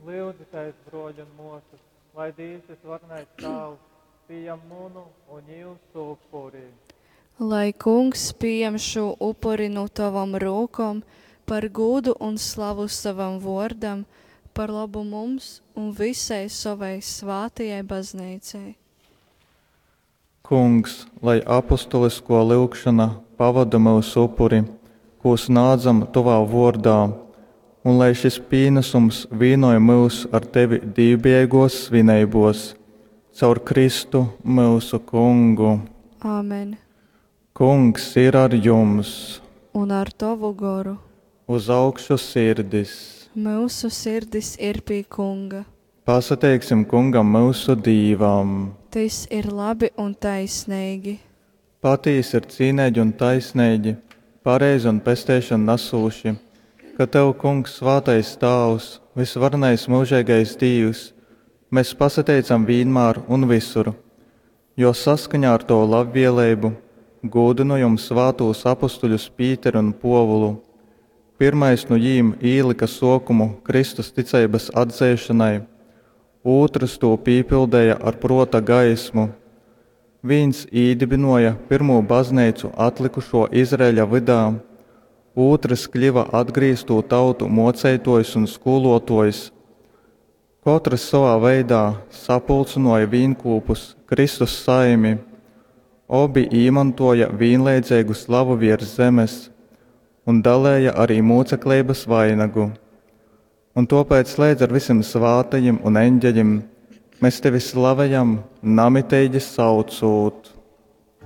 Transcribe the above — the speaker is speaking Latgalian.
Lyudzitēs, bruoļi un muosys, lai Dīvs Vysvarenais Tāvs pījam munu un jiusu upuri. Lai Kungs pījam šū upuri nu tovom rūkom par gūdu un slavu sovam vōrdam, par lobu mums un vysai sovai svātajai Bazneicai. Kungs, lai apostolyskō lyugšona pavoda myusu upuri, kū snādzam tovā vōrdā, un lai šys pīnasums vīnoj myus ar tevi dīvbijeigōs svineibōs. Caur Kristu, myusu Kungu. Amen. Kungs ir ar jums! Un ar tovu goru. Uz augšu sirdis! Myusu sirdis ir pi Kunga. Pasateiksim Kungam myusu Dīvam! Tys ir labi un taisneigi. Patīsi ir cīneigi un taisneigi, pareizi un pesteišonu nasūši, ka tev, Kungs, svātais Tāvs, vysvarenais myužeigais Dīvs, mes pasateicam vīnmār un vysur, jo saskaņā ar tovu labvēleibu gūdynojom svātūs apostuļus Pīteri un Pōvulu. Pyrmais nu jīm īlyka sōkumu Kristus ticeibas atzeišonai, ūtrs tū pīpildēja ar prōta gaismu. Vīns īdybynōja pyrmū Bazneicu atlykušō Izraeļa vydā, ūtrs kļyva atgrīztū tautu mōceitōjs un skūlōtōjs. Kotrs sovā veidā sapulcynōja vīnkūpus Kristus saimi. Obi īmontōja vīnleidzeigu slavu viers zemes un dalēja arī mūcekleibas vainagu. Un tōpēc leidz ar visim svātajim un eņģeļim mēs tevi slavejam, namiteigi saucūt.